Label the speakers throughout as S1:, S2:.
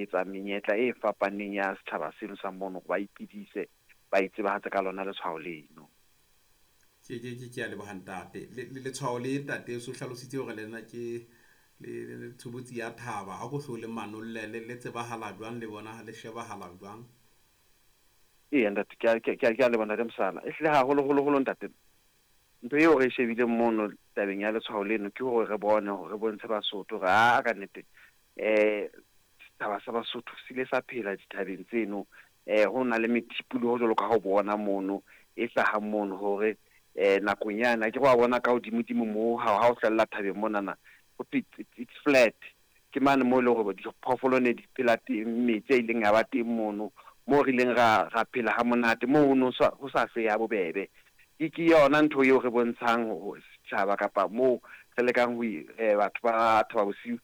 S1: etsa menyetla e fapaneng ya setjhaba seno sa mono hore ba iphedise, ba itsebahatse ka lona letshwao leno.
S2: Ke a leboha ntate. Letshwao le ntate o so hlalositse hore le nna ke le tshobotsi ya thaba. Ha ko hlo le manolle le tsebahala jwang le bona le shebahala jwang?
S1: Eya ntate, ke a leboha ntate Mosala. Ehlile haholo holo holo ntate, ntho eo re e shebileng mono tabeng ya letshwao leno ke hore re bone hore re bontshe Basotho hore aa ka nnete setjhaba sa Basotho se ile sa phela dithabeng tseno. Ho na le methipoloho jwalo ka ha o bona mono e hlahang mono hore nakong yane akere wa bona ka hodimodimo moo ha o hlwella thabeng monana ho thwe it's flat. Ke mane moo e leng hore diphoofolo ne di phela teng, metsi a ileng a ba teng mono, moo re ileng ra phela ha monate, moo ho no ho sa hlwehe ha bobebe. Ke yona ntho eo re bontshang ho setjhaba kapa moo re lekang ho batho ba Thaba Bosiu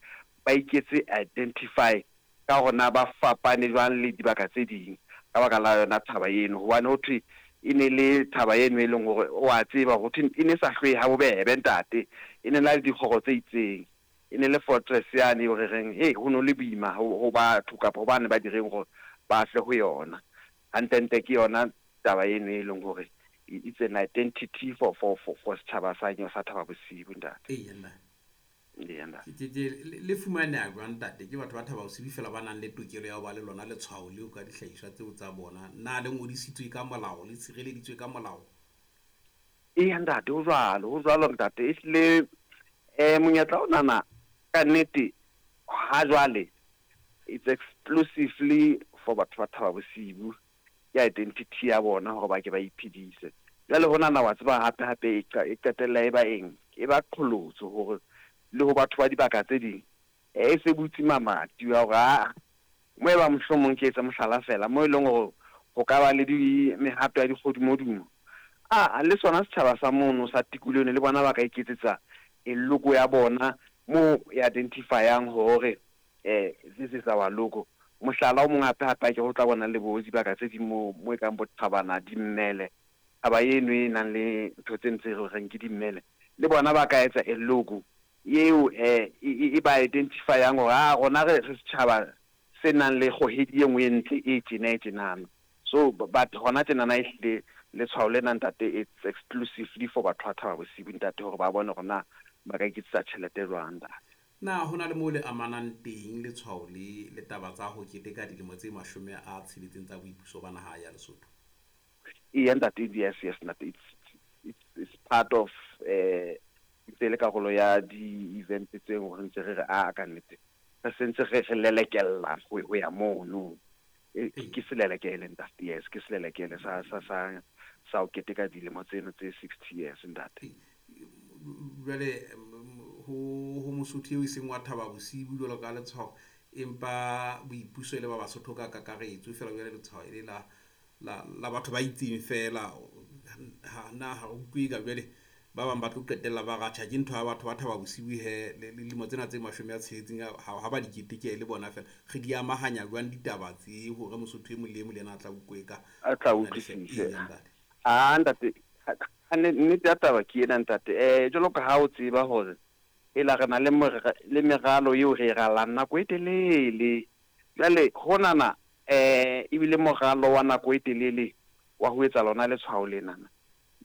S1: ba iketse identify ka hore na ba fapane jwang le dibaka tse ding ka baka la yona thaba eno. Hobane ho thwe e ne le thaba eno e leng hore wa tseba ho thwe e ne sa hlwehe ha bobebe ntate, e ne na le dikgoro tse itseng, e ne le fortress yane eo re reng hei ho no le boima ho batho kapa ho bane ba direng hore ba tle ho yona. Hantlentle ke yona taba eno e leng hore it's an identity for setjhaba sa Thaba Bosiu ntate.
S2: Eya ntate.
S1: Eya ntate.
S2: Le fumaneha jwang ntate? Ke batho ba Thaba Bosiu fela ba nang le tokelo ya ho ba le lona letshwao leo ka dihlahiswa tseo tsa bona. Na le ngodisitswe ka molao, le tshireleditswe ka molao?
S1: Eya ntate, ho jwalo, ho jwalo ntate. Ehlile monyetla onana ka nnete ha jwale it's exclusively for batho ba Thaba Bosiu. Ke identity ya bona hore ba ke ba iphedise. Jwale honana wa tseba hape hape e qetella e ba eng? E ba qholotso hore le ho batho ba dibaka tse ding e se butse mamati wa hore aa mo e ba mohlomong ke etse mohlala fela mo e leng hore ho ka ba le di mehato ya dikgodimodumo. A le sona setjhaba sa mono sa tikoloho le bona ba ka iketsetsa e logo ya bona mo e identifyang hore this is our logo. Mohlala o mong hape hape ke ho tla bona le bo dibaka tse ding mo e kang bo Thabana dimmele, taba eno e nang le ntho tse ntse re reng ke dimmele, le bona ba ka etsa e logo eo e ba identifyang hore a rona re setjhaba se nang le kgohedi e nngwe e ntle e tjena e tjenana. So but hona tjenana ehlile letshwao lena ntate it's exclusively for batho ba Thaba Bosiu ntate hore ba bone hore na ba ka iketsetsa tjhelete jwang ntate.
S2: Na ho na le moo le amanang teng letshwao le le taba tsa ho keteka dilemo tse 60 tsa boipuso ba naha ya Lesotho?
S1: Eya ntate, yes yes ntate, it's part of ntse le karolo ya di-event tse hore ntse re re a ka nnete re sentse re lelekella ho ya mono. Ke selelekele ntate, yes ke selelekele sa ho keteka dilemo tseno tse 60 years ntate.
S2: Jwale ho Mosotho eo e seng wa Thaba Bosiu jwalo ka letshwao, empa boipuso e le ba Basotho ka kakaretso fela jwale letshwao e le la batho ba itseng fela. Na ha re utlwe ka jwale ba bang ba tlo qetella ba ratjha ke ntho ya batho ba Thaba Bosiu he le dilemo tsena tse 60 ha ba di keteke le bona fela. Re di amahanya jwang ditaba tse hore Mosotho e mong le e mong le yena a tla utlwe ka
S1: a tla utlwisise? A ntate, nnete ya taba ke ena ntate. Jwalo ka ha o tseba hore ela re na le meralo eo re e ralang nako e telele. Jwale honana ebile moralo wa nako e telele wa ho etsa lona letshwao lenana.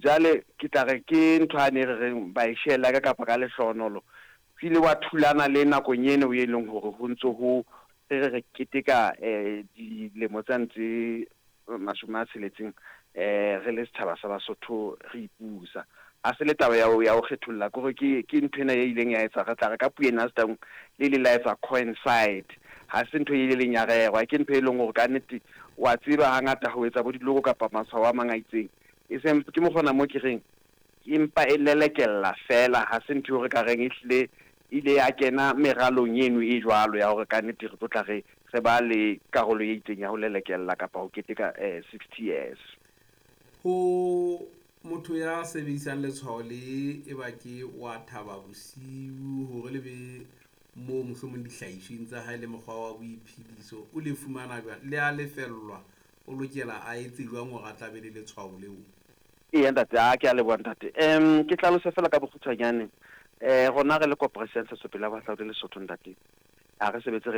S1: Jwale ke tla re ke ntho a ne re reng ba e shela ka kapa ka lehlohonolo. Ho ile wa thulana le nakong eno e leng hore ho ntso ho re keteka dilemo tsa ntse 60 re le setjhaba sa Basotho re ipusa. Ha se le taba ya ho kgetholla, ke hore ke ntho ena e ileng ya etsa re tla re ka puo ena Setaung le ile la etsa coincide. Ha se ntho e ileng ya rerwa, ke ntho e leng hore ka nnete wa tseba hangata ho etsa bo dilogo kapa matshwao a mang a itseng. E seng ke mokgona mo ke reng empa e lelekella fela, ha se ntho eo re ka reng ehlile ile ya kena meralong eno e jwalo ya hore ka nnete re tlo tla re ba le karolo e itseng ya ho lelekella kapa ho keteka 60 years.
S2: Ho motho ya sebedisang letshwao le e ba ke wa Thaba Bosiu hore le be moo mohlomong dihlahisweng tsa hae le mokgwa wa boiphediso o le fumana jwang? Le a lefellwa, o lokela a etse jwang hore a tla be le letshwao leo?
S1: Eya ntate, a ke a leboha ntate. Ke hlalose fela ka bokgutshwanyane. Rona re le Koporasi ya Ntshetsopele ya Bohahlaudi Lesotho ntate, ha re sebetse re